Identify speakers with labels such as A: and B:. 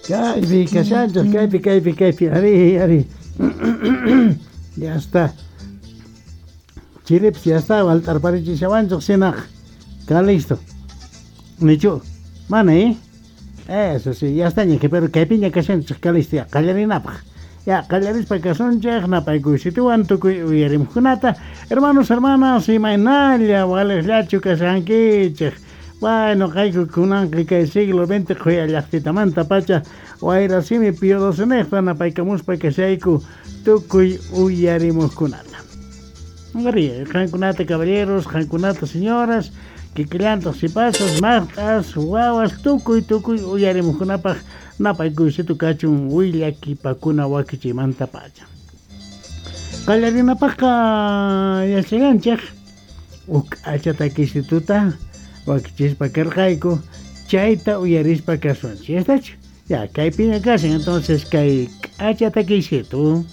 A: Kaypi kashanchej, kaypi, kaypi, kaypi, arí, arí. Ya está. Chiripis ya está, walt'arparichishawanchej shinaq. Calixto. Nichu? Mana, eh? Eso sí, ya está ña, pero kaypiña kashanchej, Calixto, ya qallarinapaj. Ya, qallarispa kasunchej, napaykuysituwan tukuy uyarimuqkunata. Hermanos, hermanas, imaynalla, walejllachu kashankichej. Bueno, qayku kunanqa kay siglo XX qhuya llaqtitamanta pacha wayrasimi Pío XII napaykamuspa kashayku tukuy uyarimuqkunata. Ari, qankunata caballeros, qankunata señoras, kikillantaq sipasas, maqt'as, wawas, tukuy tukuy uyarimuqkunapaq napaykuysitu kachun willakipakuna wakichiymanta pacha. Qallarinapaqqa yachallanchej huk k'acha takisituta wakichispa karqayku chayta uyarispa kasunchik. ¿Estachu? Ya, kaypiña kashan entonces kay k'acha takisitu.